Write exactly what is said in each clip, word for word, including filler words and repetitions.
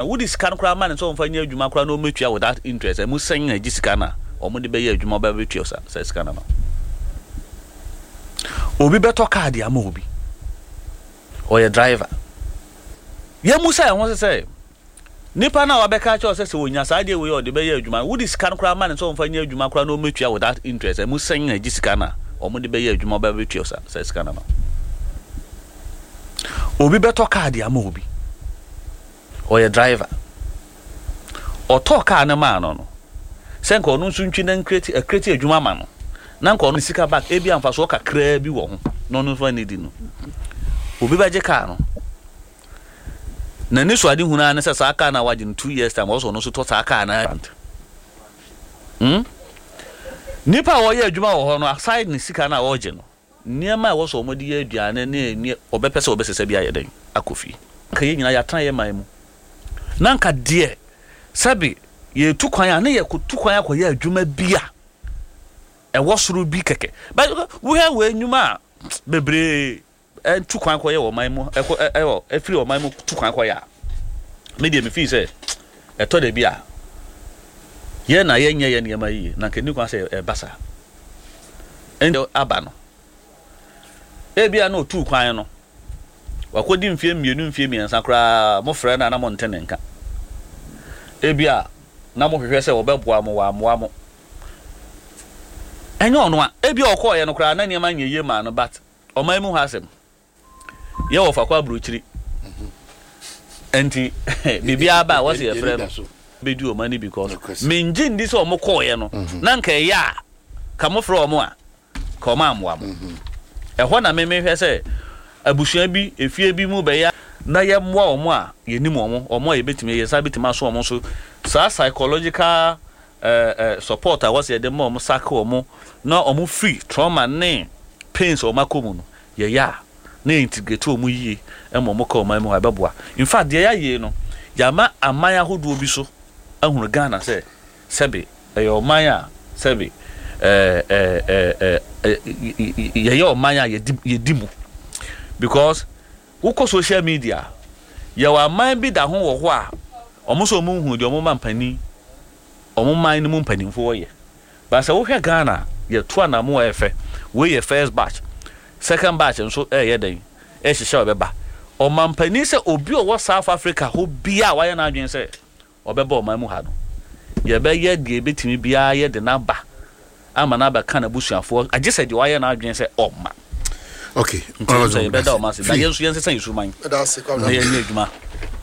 Wode sika no koraa ma ne sɛ ɔmfa nyɛ adwuma koraa na ɔmɛtua without interest, ɛmu sɛn na agye sika no a ɔmo de bɛyɛ adwuma, ɔbɛbɛtua sa sɛ sika no ma obi bɛtɔ kaa de ama obi ɔyɛ driver. Yɛmu sɛ ɛho sɛ sɛ nipa no a wabɛka kyerɛ sɛ sɛ onya saa adeɛ wei a ɔde bɛyɛ adwuma, wode sika no koraa ma ne sɛ ɔmfa nyɛ adwuma koraa na ɔmɛtua without interest, ɛmu sɛn na agye sika no a ɔmo de bɛyɛ adwuma, ɔbɛbɛtua sa sɛ sika no ma obi bɛtɔ kaa de ama obi ɔyɛ driver, ɔtɔɔ kaa no maa no no sɛ nka ɔno nso ntwi na ncreate acreate adwuma ma no na nka ɔno sika back, ebi amfasoɔ kakraa bi wɔ ho na ɔno nso ani di no. Obi bɛgye kaa no, n'ani so ade hunu ara ne sɛ saa kaa no a wagye no, two years time ɔsɔ ɔno nso tɔ saa kaa no. hmm? Nipa a wɔyɛ adwuma wɔ hɔ no, aside ne sika no a wɔregye no, nneɛma a ɛwɔ sɛ wɔde yɛ aduane ne ne ɔbɛpɛ sɛ ɔbɛsesa bi ayɛ dɛn akɔ fie. Nka yɛn nyinaa yɛatena yɛ man mu na nka deɛ sɛbi yɛtu kwan a ne yɛkɔtu kwan akɔyɛ adwuma bi a ɛwɔ soro bi kɛkɛ, but wohwɛ wɔ nnwuma a bebree ɛtu kwan kɔyɛ wɔ ɔman mu, ɛkɔ ɛwɔ ɛfiri ɔman mu tu kwan kɔyɛ a, me deɛ me fii sɛ ɛtɔ da bi a yɛn na yɛnyɛ yɛ nneɛma yie na nka ni kwan sɛ ɛba saa. Ɛnna aba no, ebi a na otu kwan no wakɔdi mfie mmienu, mfie mmiɛnsa koraa, mo frɛ no a na mo nte ne nka. Ebi a na mo hwehwɛ sɛ wɔbɛboa mo, wɔamoa mo. Ɛnyɛ ɔno a ebi a ɔkɔɔyɛ no koraa na nneɛma nyɛ yie maa no, but ɔman mu hɔ asɛm yɛ wɔ fa kɔ aburokyiri nti biribiara ba a wɔsi yɛfrɛ no bɛdi ɔman ni because mengye ndi sɛ ɔmo kɔɔyɛ no na nka ɛyɛ a ka mo frɛ ɔmo a ka ɔmo amoa mo. Ɛhɔ na memehwɛ sɛ abusua bi, efie bi mu bɛyɛ na yɛmmoa ɔmo a yɛnim ɔmo, ɔmo a yɛbɛtumi yɛn nsa bɛtumi aso ɔmo so, saa psychological ɛɛ ɛɛ support a wɔsi yɛde ma ɔmo sake ɔmo na ɔmo free trauma ne pains a ɔmo akɔ mu no, yɛyɛ a na yɛ integrate ɔmo yie ɛma ɔmo ka ɔman mu hɔ, ɛbɛboa. In fact, deɛ yɛayɛ no, yɛama aman ahodoɔ bi so ahunu Ghana sɛ sɛbi ɛyɛ ɔman a sɛbi ɛɛ ɛɛ ɛɛ yɛyɛ ɔman a yɛdi yɛdi mu, because wokɔ social media, yɛwɔ aman bi da ho wɔ hɔ a ɔmo nso ɔmo nhu deɛ ɔmo ma mpanin, ɔmo man no mu mpanimfoɔ yɛ. But sɛ wohwɛ Ghana, yɛto anamo a ɛfɛ. Wei yɛ first batch, second batch nso ɛyɛ dɛn ɛhyehyɛ ɔbɛba. Ɔmampanin sɛ obi a ɔwɔ South Africa hɔ bia a wayɛ n'adwene sɛ ɔbɛba ɔman mu ha no, yɛbɛyɛ deɛ ebɛtumi biara yɛde n'aba ama n'aba ka n'abusuafoɔ, agye sɛ deɛ wayɛ n'adwene sɛ ɔma. Okay nti sɛ yɛbɛda ɔma ase na yɛn nso yɛnsesa yɛn suman ɛda ase, Kwabena. Na yɛnyɛ adwuma,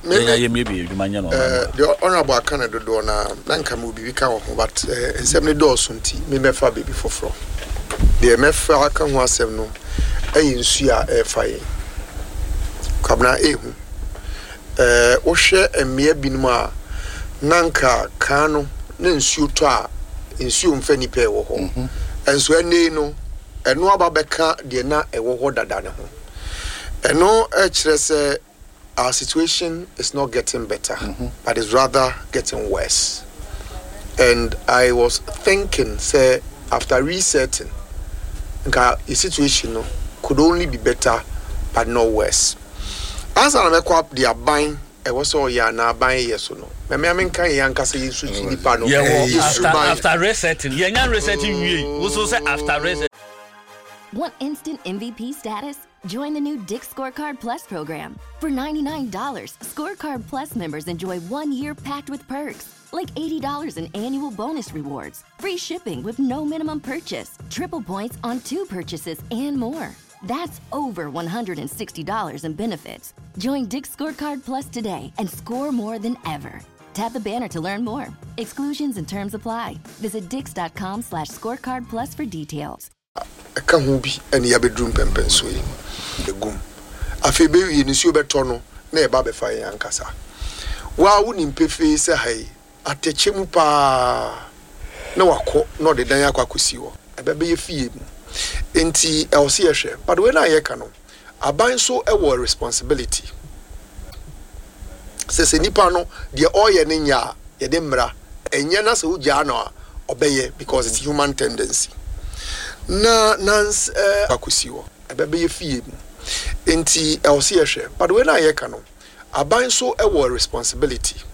yɛn ayɛ miebie adwuma nyɛ no ɔman mu ha. Deɛ Honorable aka no dodoɔ na na nka mewɔ biribi ka wɔ ho, but eh, nsɛm no dɔɔso nti memɛfa biribi foforɔ. Deɛ mɛfa aka ho asɛm no ɛyɛ nsuo a ɛrefa yɛn, Kwabena. Ɛhu eh, wohwɛ mmea binom a na nka kan no na nsuo tɔ a nsuo mfa nipa ɛwɔ hɔ, ɛnso ɛnɛ yi no ɛno aba bɛka deɛ na ɛwɔ hɔ dada ne ho. Ɛno ɛkyerɛ sɛ our situation is not getting better, but it's rather getting worse. And I was thinking sɛ after resetting nka the situation no could only be better but not worse. Ansa na mɛkɔ de aban ɛwɔ sɛ ɔyɛ anaa aban yɛ so no, mɛmɛ amenka yɛn ankasa yɛn nso nipa no yɛwɔ yɛ after suban. After resetting, yɛnya resetting wie, woso sɛ after resetting. Want instant M V P status? Join the new Dick's Scorecard Plus program. For ninety-nine dollars, Scorecard Plus members enjoy one year packed with perks, like eighty dollars in annual bonus rewards, free shipping with no minimum purchase, triple points on two purchases, and more. That's over one hundred sixty dollars in benefits. Join Dick's Scorecard Plus today and score more than ever. Tap the banner to learn more. Exclusions and terms apply. Visit dicks dot com slash scorecard plus for details. Ɛka ho bi ɛne yɛabɛduru mpɛmpɛnsoɔ yi ɛgum. Afei bɛwie no, nsuo bɛtɔ no na yɛba bɛfa yɛn ankasa. Waa, wonim pefee sɛ ha yi atɛkyɛ mu paa na wakɔ na ɔde dan akɔ akɔsi hɔ, ɛbɛbɛyɛ fie mu. Nti ɛwɔ sɛ yɛhwɛ, but wei no a yɛka no, aban nso ɛwɔ responsibility sɛ sɛ nipa no deɛ ɔreyɛ no nyɛ a, yɛde mmara ɛnyɛ na sɛ wogyaa no a ɔbɛyɛ, because it's human tendency na nans ɛɛ akɔsi hɔ, ɛbɛbɛyɛ fie mu. Nti ɛwɔ sɛ yɛhwɛ, but wei no a yɛka no, aban nso ɛwɔ responsibility.